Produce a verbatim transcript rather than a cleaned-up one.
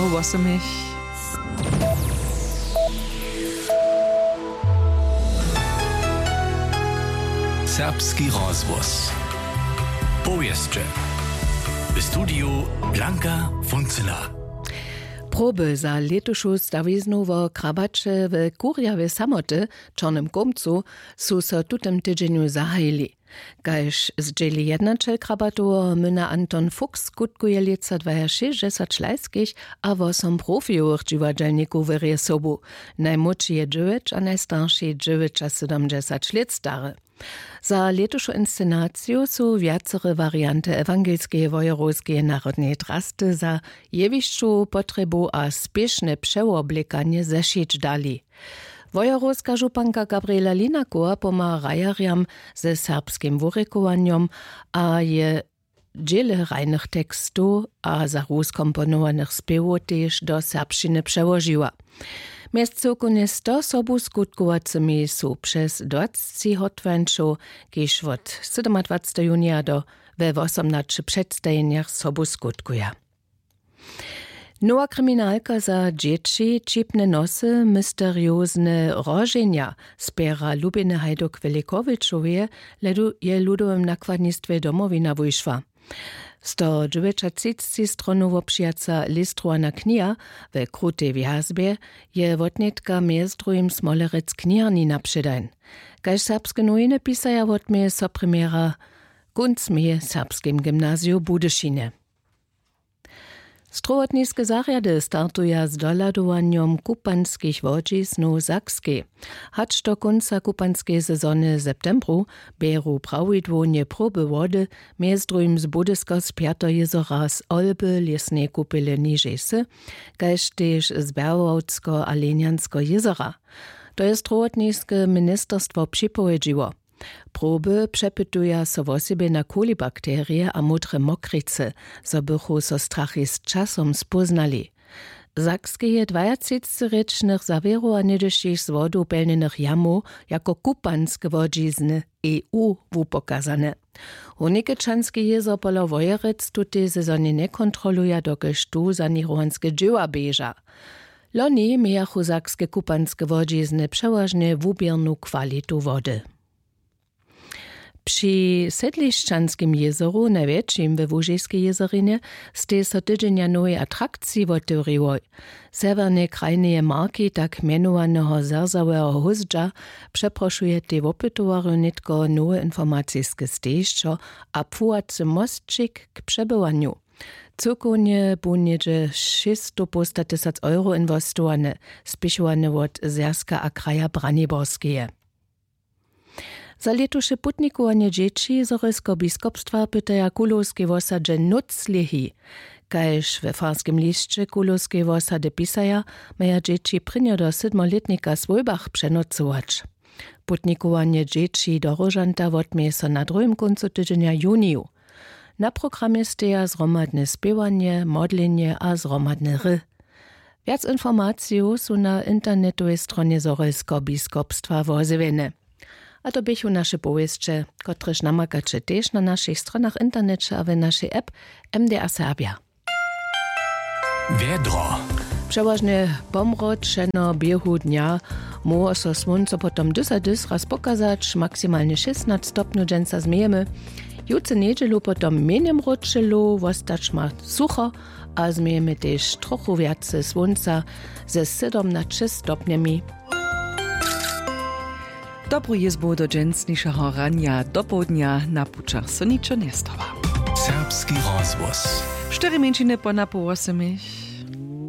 Wosomich. Serbski rozhłos. Powěsće. W studiju Blanka Funcyna. Proby za lětušu stawiznu wo krabaće w kurjawej samoty w čornym kołmcu su so w tutym tydźenju zahajili. Kaž zdźěli jednaćel krabatoweho myna Anton Fuchs, skutkuje lětsa dwajašěsćdźesać lajskich a wosom profijowych dźiwadźelnikow wěrje sobu. Najmłódši je dźewjeć a najstarši dźewjećasydomdźesać lět stary. Za lětušu inscenaciju su wjacere warianty ewangelskeje wojerowskeje narodneje drasty za jewišćowu potrjebu a spěšne přewoblekanje zešić dali. Wojerowska županka Gabriela Linakowa pomha hrajerjam ze serbskim wurěkowanjom a je dźěle hrajnych tekstow a za rus komponowanych spěwow tež do serbšćiny přełožiła. Mjez cyłkownje sto sobuskutkowacymi su přez dwacci hotwańćow, kiž wot sydomadwacteho junija do we wosomnaće předstajenjach sobu skutkuja. Nowa kriminalka za dźěći, ćipne nosy, mysteriozne roženja spjera Lubiny Hajduk-Wjelikowičoweje je w ludowym nakładnistwje Domowina wušła. Sto dźewjećatřicci stronow wobšijaca listrowana kniha we krutej wjazbje je wotnětka mjez druhim smolerec kniharni na předajn. Kaž serbske nowiny pisaja, wotměje so premjera kónc meje w serbskim gymnaziju w Budyšinje. Strowotniske zarjady startuja z dohladowanjom kupanskich łodźiznow w Sakskej. Hač do kónca kupanskeje sezony w septembru bjeru prawidłownje proby wody, mjez druhim z Budyskeho Spjateho jězora, z Olby, lěsneje kupele Nižejsy, kaž tež z Berłowskeho a Lenjanskeho jězora. To je strowotniske ministerstwo připowědźiło. Proby přepytuja so wosebje na kolibakterije a módre mokricy, zo bychu so strachi z časom spóznali. W Sakskej je dwajatřicci rěčnych zawěrow a něhdyšich z wodu pjelnjenych jamow jako kupanske łodźizny E U wupokazane. Hórnikečanski jězor pola Wojerec tutej sezonje njekontroluja, dokelž tu saněrowanske dźěła běža. Loni mějachu sakske kupanske łodźizny přewažnje wuběrnu kwalitu wody. Při Sedlišćanskim jězoru, najwjetšim we Łužiskej jězorinje, stej so tydźenja nowej atrakciji wotewriłoj. Sewjerneje krajneje marki tak mjenowaneho zrzaweho hózdźa přeprošujetej wopytowarjow nětko nowe informaciske stejišćo a płuwacy mosćik k přebywanju. Cyłkownje bu něhdźe šěsćstowpołstatysac euro inwestowane, spěchowane wot Zwjazka a kraja Braniborskeje. Za lětuše putnikowanje dźěći Zhorjelskeho biskopstwa pytaja w Kulowskej wosadźe nóc lěhi. Kaž we farskim lisće Kulowskeje wosady pisaja, maja dźěći prěnjo do sydmolětnika w swójbach přenocować. Putnikowanje dźěći do Róžanta wotměje so na druhim kóncu tydźenja w juniju. Na programje steja zhromadne spěwanje, modlenje a zhromadne hry. Wjac informacijow su na internetowej stronje Zhorjelskeho biskopstwa wozjewjene. A to běchu naše powěsće, kotrež namakaće tež na našich stronach w interneće a w našej app M D A Serbja. Wjedro. Přewažnje pomročeno běhu dnja. Móhło so słónco potom dys a dys raz pokazać, maksimalnje šěsnaće stopnjow dźensa změjemy. Jutře njedźelu potom mjenje mročelu, wostać ma sucho a změjemy tež trochu wjace słónca ze sydomnaće stopnjemi. Dobru jězbu do dźensnišeho ranja dopołdnja na pućach so ničo njestawa. Serbski rozhłos. Štyri mjeńšiny po napoł wosomich.